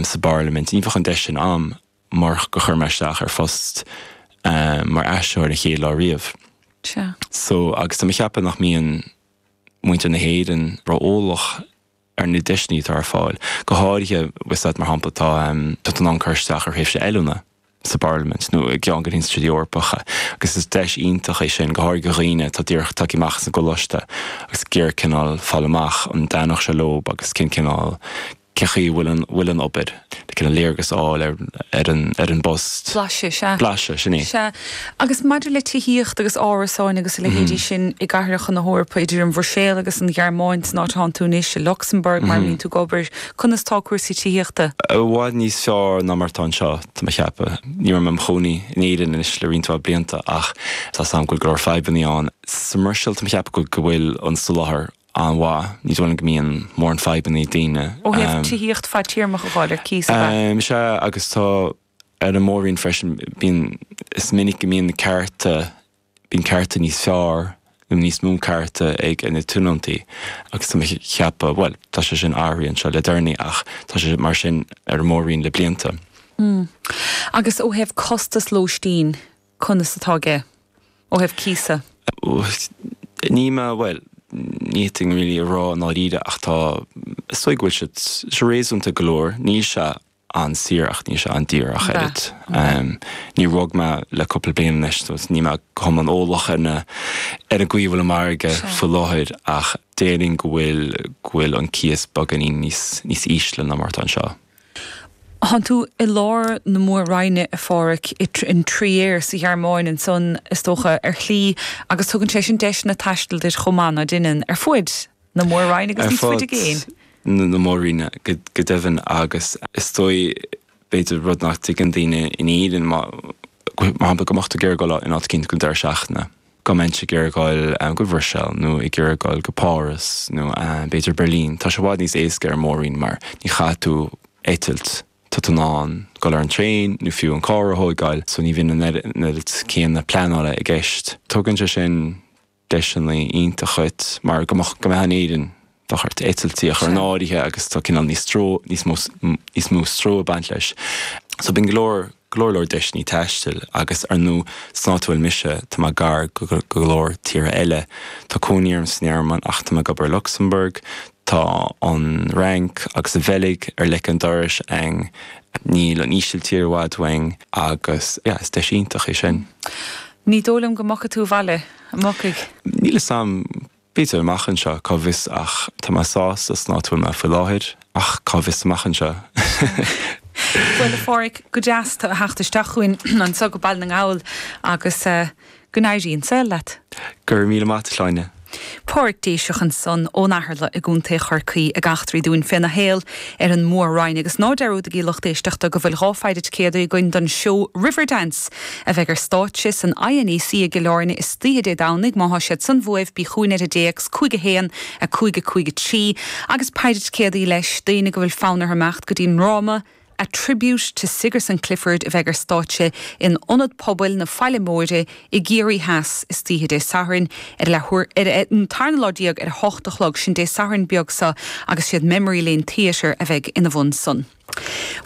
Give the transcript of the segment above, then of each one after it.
sa bParlaimint. Ní bheadh an deis sin a'm murach gur chuir mé isteach ar phost mar aistritheoir an chéad lá riamh. Sea. So, agus tá mé ag ceapadh nach mbíonn muintir na hÉireann ró-eolach ar na deiseanna atá ar fáil. Go háirithe, bhfuil a fhios agat, mar shampla, tá tá tú in ann cur isteach ar thréimhse oiliúna sa bParlaimint nó i gceann de na hinstitiúidí Eorpacha agus is deis iontach é sin, go háirithe do dhaoine atá díreach tagtha amach as an gcoláiste agus ag iarraidh cineál fáil amach an dtaitneodh sé leo agus cén cineál cén chaoi a bhfuil an bhfuil an obair, le cineál léargas a fháil ar ar an ar an bpost. Blaiseadh, sea. Blaiseadh, sin é. Sea. Agus maidir le tithíocht agus árasáin agus a leithéidí sin i gcathracha na hEorpa, idir an Bhruiséil agus an Ghearmáin, san áit atánn tú anois, i Lucsamburg mar a mbíonn tú ag obair, conas tá cúrsaí tithíochta? I bhfad níos fearr ná mar atá anseo, tá mé ag ceapadh. Ní raibh mé im chónaí in Éirinn anois le roinnt mhaith blianta ach tá 's a'm go bhfuil go leor fadhbanna ann. Sa mBruiséil tá mé ag ceapadh go bhfuil an soláthar an-mhaith. Ní dóigh liom go mbíonn mórán fadhbanna ag daoine. Ó thaobh tithíocht fadtéarmach a fháil ar cíos, ab ea? Sea, agus tá ar an mór-roinn freisin, bíonn, is minic go mbíonn na cearta, bíonn cearta níos fearr nó níos mó cearta ag na tionóntaí agus tá mé ag ceapadh, bhuel, tá sé sin athraithe anseo le deireanaí ach tá sé mar sin ar an mór-roinn le blianta. Agus ó thaobh costas lóistín, conas atá aige? Ó thaobh cíosa? Ní mé, bhuel, ní fhéadfainn really a rá i ndáiríre ach tá, is dóigh go bhfuil siad, sé réasúnta go leor, níl sé an-saor ach níl sé an-daor ach oiread. Níor bhog mé le cúpla bliain anois so níl mé go hiomlán eolach ar na, ar an gcaoi a bhfuil an margadh faoi láthair ach déarfainn go bhfuil, go bhfuil an cíos beagáinín níos, níos ísle ná mar atá anseo. Tánn tú i lár na Mór-Roinne, a Pháraic, in Trier sa Ghearmáin ansan, is dócha, ar shlí, agus tugann sé sin deiseanna taistil duit chomh maith, ná deineann, ar fuaid na Mór-Roinne agus níos faide i gcéin. Ar fud na Mór-Roinne, go deimhin, agus is dóigh, b'fhéidir, rud nach dtuigeann daoine in Éirinn, mar shampla, go mbeadh tú ag iarraidh dul in áit eicínt don deireadh seachtaine. Go mbeinnse ag iarraidh dul go Bhruiséil nó ag iarraidh dul go Páras nó b'fhéidir Berlin, tá sé i bhfad níos éasca ar an Mór-Roinn mar ní chaithfidh tú eitilt, tá tú in ann dul ar an traein nó fiú an carr a thóigeáil so ní bhíonn an oiread céanna pleanála i gceist. Tugann sé sin deiseanna iontacha duit mar go mbeadh, go mbeifeá in Éirinn, bheadh ort eitiltí a chur in áirithe agus tá cineál níos stró, níos mó, níos mó stró ag baint leis. So bíonn go leor, go leor leor deiseanna taistil agus ar ndóigh san áit a bhfuil mise, tá mé gar go go leor tíortha eile. Tá cónaí orm sa nGearmáin ach tá mé ag obair i Lucsamburg, tá an Fhrainc agus an Bheilg ar leic an dorais a'inn, níl an Ísiltír i bhfad uainn agus yeah, is deis iontach é sin. Ní dóigh liom go mbogfaidh tú abhaile, an mbogfaidh? Níl 'fhios a'm. B'fhéidir amach anseo, cá bhfios ach tá mé sásta san áit a bhfuil mé faoi láthair ach cá bhfios amach anseo. Bhuel, a Pháraic, go deas tú a theacht isteach chugainn anseo go Baile na nGall agus go n-éirí an saol leat. Go raibh míle maith a't, a Shláine. Páraic Déiseach ansan ón Eatharla i gContae Chorcaí ag eachtraí dúinn féna shaol ar an Mhór-Roinn agus ná dearúdaigí lucht éisteachta go bhfuil 2 pheidhre ticéadaí againn don seó Riverdance a bheidh ar stáitse san INEC i gCill Airne istoíche Dé Domhnaigh. Má thá siad san uaibh, bí chugainn ar an dtéacs 5 1 5 5 3 agus peidhre ticéadaí leis, daoine go bhfuil fonn orthu imeacht go dtí an ndráma A Tribute to Sigerson Clifford a bheidh ar stáitse in Ionad Pobail na Faille Móire i gCiarraí Theas istoíche Dé Sathairn ar a leathuair ar an tarna lá déag ar a hocht a chlog, sin Dé Sathairn beag seo agus siad Memory Lane Theatre a bheidh ina bhun san.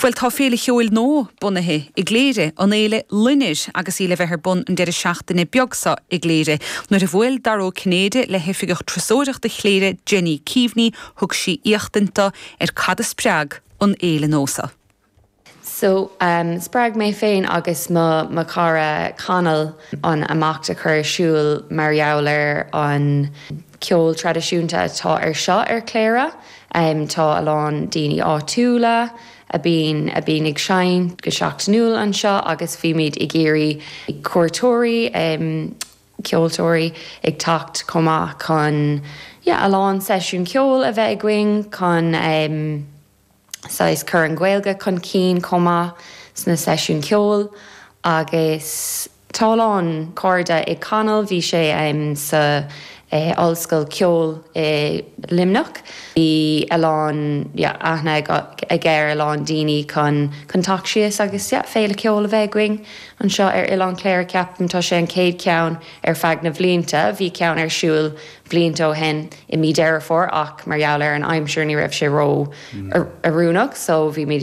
Bhuel, tá féile cheoil nua bunaithe i gCléire, an Fhéile Loinnir, agus í le bheith ar bun an deireadh seachtaine beag seo i gCléire. Nuair a bhuail Dara Ó Cinnéide le hOifigeach Turasóireachta Chléire, Jenny Keaveney, thug sí éachtaint do ar cad a spreag an fhéile nua seo. So, spreag mé féin agus mo mo chara Conall an imeacht a chur ar siúl mar gheall ar an ceol traidisiúnta atá ar seo ar Chléire. Tá a lán daoine áitiúla a bíonn a bíonn ag seinnt go seachtainiúil anseo agus bhímid ag iarraidh cuairteoirí, ceoltóirí ag teacht chomh maith chun yeah a lán seisiún ceoil a bheith againn chun saghas cur an Ghaeilge chun cinn chomh maith sna seisiúin ceoil agus tá a lán cairde ag Conall, bhí sé sa ollscoil ceoil i Luimneach, bhí a lán yeah aithne aige ar a lán daoine chun chun teacht síos agus yeah féile ceoil a bheith againn anseo ar Oileán Chléire ceapaim tá sé an chéad cheann ar feadh na bhlianta, bhí ceann ar siúl blianta ó shin i mí Deireadh Fómhair ach mar gheall ar an aimsir ní raibh sé ró oiriúnach so bhí muid ag.